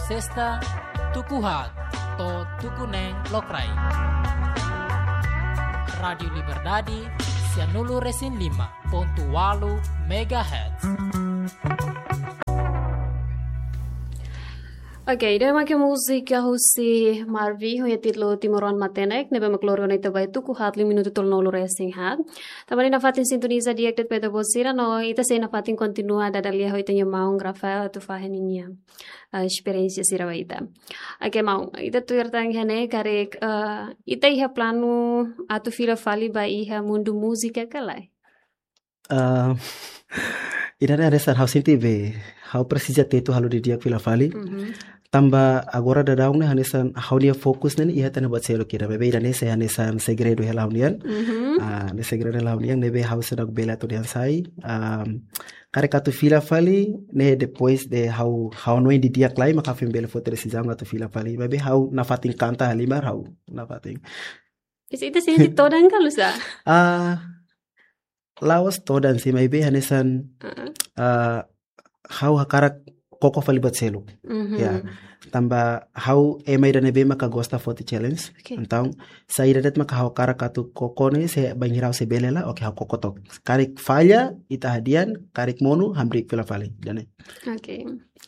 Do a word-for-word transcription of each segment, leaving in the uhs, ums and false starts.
Sesta, tuku haat to'o tuku neen lokraik. Rádiu Liberdade, sianulu resin lima pontu walu megahertz. Oke, ida-ne'e mak múzika husi Marvi, ho títulu Timoroan Matenek, ne'ebé mak lori ona ita ba tuku haat liu minutu tolunulu resin haat. Tanba ita nafatin sintoniza di'ak de'it ba ita-boot sira, no ita sei nafatin kontinua dada lia ho ita-nia maun Rafael atu fahe ninia, eh, esperiénsia sira ba ita. Oke, maun, ita tuir tan iha ne'e karik, eh, ita iha planu atu fila fali ba iha mundu múzika ka lae? Ah, ida-ne'e hanesan ha'u sente be, ha'u presiza tetu halo didi'ak fila fali. Mhm. Tanba agora daudaun ne'e hanesan ha'u-nia fokus ne'e iha ita-nia buat seluk ida. Maibé ida-ne'e sei hanesan segredu hela ha'u-nian. Mhm. Ah, ne'e segredu hela ha'u-nian, ne'ebé ha'u seidauk bele atu dehan sai. Ah, karik atu fila fali, ne'e depois de ha'u, ha'u hanoin didi'ak lai, maka ha'u foin bele foti desizaun atu fila fali. Maibé ha'u nafatin kanta halimar ha'u, nafatin. Isi ita sente todan ka oinsá? Ah, la'ós todan sih, maibé hanesan, Heeh. ah, ha'u hakarak koko fali buat seluk. Mhm. Ya. Tanba ha'u ema ida ne'ebé maka gosta foti challenge. Oke. Entaun, saida de'it maka ha'u hakarak atu koko ne'e, se bainhira ha'u sei bele hela, oke, ha'u koko took. Karik falla, ita hadi'a, karik monu, hamriik fila fali. Ida-ne'e. Oke.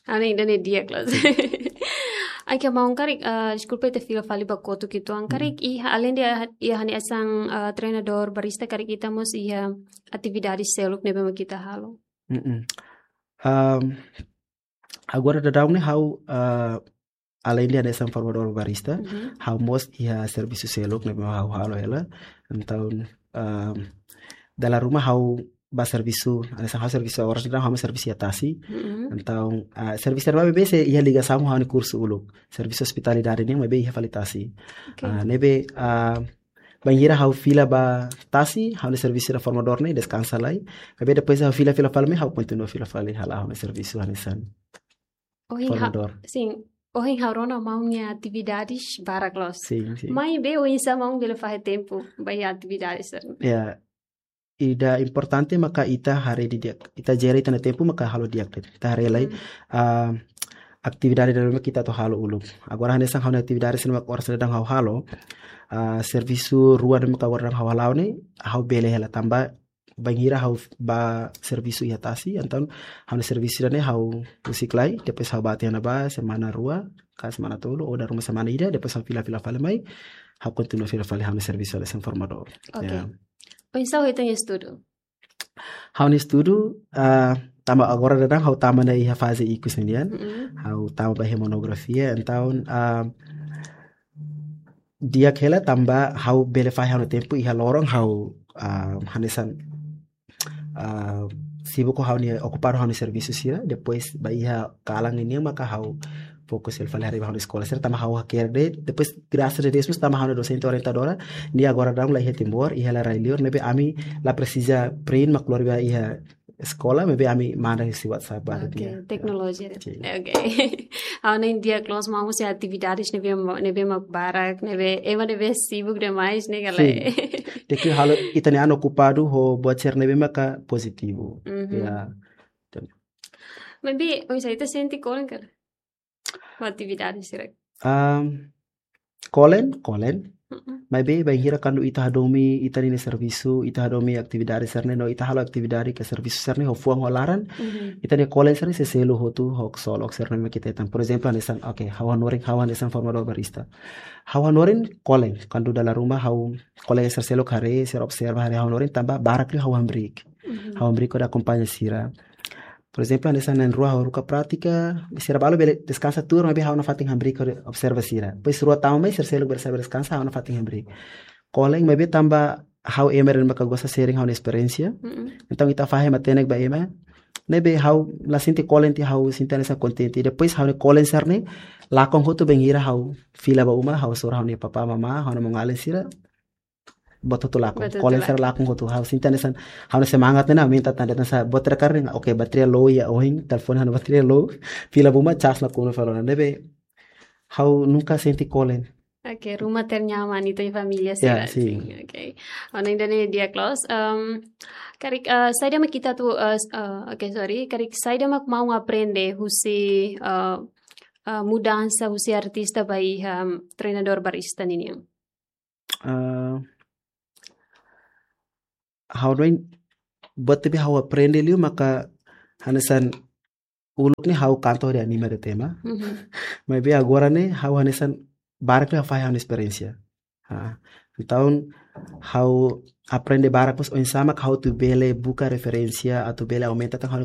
Ha'u hanoin ida-ne'e di'ak loos. Oke, maun, karik, eh, deskulpa ita fila fali ba kotuk uitoan. Karik, Hmm. iha, além de iha hanesan, eh, treinadór barista, karik ita mós iha atividade seluk ne'ebé mak ita halo? Mm-mm. Am, agora daudaun ne'e ha'u, eh, além de hanesan formadór barista, Mhm. ha'u mós iha servisu seluk ne'ebé ha'u halo hela. Entaun, am, dala ruma ha'u ba servisu, hanesan ha'u servisu oras daudaun ha'u mós servisu iha tasi. Mhm. Entaun, ah, servisu ne'ebé sei iha ligasaun ho ha'u-nia kursu uluk. Servisu ospitalidade ne'e maibé iha fali tasi. Oke. Ah, ne'ebé, ah, bainhira ha'u fila ba tasi, ha'u-nia servisu ida formadór ne'e deskansa lai. Maibé depois ha'u fila, fila fali mai ha'u kontinua fila fali halo ha'u-nia servisu hanesan Ohin ha-, formadór. Sin. Ohin ha'u rona maun nia atividades barak loos. Sin, sin. Maibé oinsá maun bele fahe tempu ba iha atividades sira-ne'e? Ya, ida importante maka ita haree didi'ak. Ita jere ita-nia tempu maka halo di'ak de'it. Ita haree lai, Hmm. ah, atividade daudaun ne'ebé ita atu halo uluk. Agora hanesan ha'u-nia atividade sira-ne'e maka oras daudaun ha'u halo, ah, servisu rua ne'ebé maka agora daudaun ha'u hala'o ne'e, ha'u bele hela tanba bainhira ha'u ba servisu iha tasi, entaun ha'u-nia servisu ida-ne'e ha'u husik lai, depois ha'u bá tiha ona ba semana rua, ka semana tolu, ou dala ruma semana ida, depois ha'u fila, fila fali mai, ha'u kontinua fila fali ha'u-nia servisu hanesan formadór. Oke. Ya. Oinsá ho ita-nia estudu? Ha'u-nia estudu, ah, tanba agora daudaun ha'u tama ona iha faze ikus nian, Mm-mm. ha'u tama ba iha monografia, entaun, ah, di'ak hela tanba ha'u bele fahe ha'u-nia tempu iha loron ha'u, ah, hanesan, ah, sibuk ho ha'u-nia, okupadu ho ha'u-nia servisu sira, depois ba iha kalan nian maka ha'u fokus hela fali haree ba ha'u-nia eskola sira tanba ha'u hakerek de'it, depois grasas a Deus mós tanba ha'u-nia dosente orientadora, nia agora daudaun la iha Timor, iha rai-liur, ne'ebé ami la presiza print mak lori ba iha eskola, maibé ami manda husi WhatsApp ba Oke, nia. Teknolojia. Sin. Oke. Ha'u hanoin di'ak loos maun husi atividades ne'ebé ma-, ne'ebé mak barak, ne'ebé, ema ne'ebé sibuk demais ne'e ka lae? Sin. Tenke halo ita-nia an okupadu ho buat sira ne'ebé maka pozitivu. Mhm. Ya. Maibé, oinsá ita sente kolen ka lae? Ho atividades sira. Am, kolen, kolen. Mm-mm. Maibé, bainhira kuandu ita hadomi, ita-nia servisu, ita hadomi atividade sira-ne'e, no ita halo atividade ka servisu sira-ne'e, ho fuan ho laran, Mhm. ita-nia kolen sira-ne'e sei selu hotu, ho ksolok sira-ne'e mak ita hetan. Por ezemplu, hanesan, oke, ha'u hanorin, ha'u hanesan formadór barista. Ha'u hanorin kolen, kuandu dala ruma ha'u kolega sira seluk haree, sira observa haree ha'u hanorin, tanba barak liu ha'u hamriik. Mhm. Ha'u hamriik hodi akompaña sira. Por ezemplu, hanesan na'in-rua ha'u haruka prátika, sira balu bele deskansa tuur, maibé ha'u nafatin hamriik hodi observa sira. Depois rua tama mai, sira seluk bele sai bá deskansa, ha'u nafatin hamriik. Kolen, maibé tanba ha'u ema ida maka gosta sharing ha'u-nia esperiénsia. Mm-mm. Entaun, ita fahe matenek ba ema. Ne'ebé ha'u la sente kolen tiha, ha'u sente hanesan kontente. Depois ha'u-nia kolen sira-ne'e lakon hotu bainhira ha'u fila ba uma, ha'u hasoru ha'u-nia papá, mamá, ha'u-nia maun-alin sira. Buat hotu lakon. Buat hotu Kolen la- sira lakon hotu. Ha'u sente hanesan, ha'u-nia semangat ne'e aumenta tan, hanesan buat terakhir ne'e, oke, bateria low iha ohin, telefone ha'u-nia bateria low, fila ba uma, cas nakonu fali ona. Ne'ebé ha'u nunka sente kolen. Oke, ruma ternyaman ita-nia família Ya, sira, sin. sin, oke. Ha'u hanoin ida-ne'e di'ak loos. Em, karik, eh, saida mak ita atu, eh, s-, eh, oke, sorry. Karik saida mak maun aprende husi, eh, ah, mudansa husi artista ba iha, um, treinadór barista ninian? Ah, ha'u hanoin, buat ne'ebé ha'u aprende liu maka hanesan uluk ne'e ha'u kantor de anima de tema. Mhm. Maibé agora ne'e ha'u hanesan barak liu ha'u fahe ha'u-nia esperiénsia. Ah, entaun ha'u aprende barak mós oinsá mak ha'u atu bele buka referénsia, atu bele aumenta tan ha'u-nia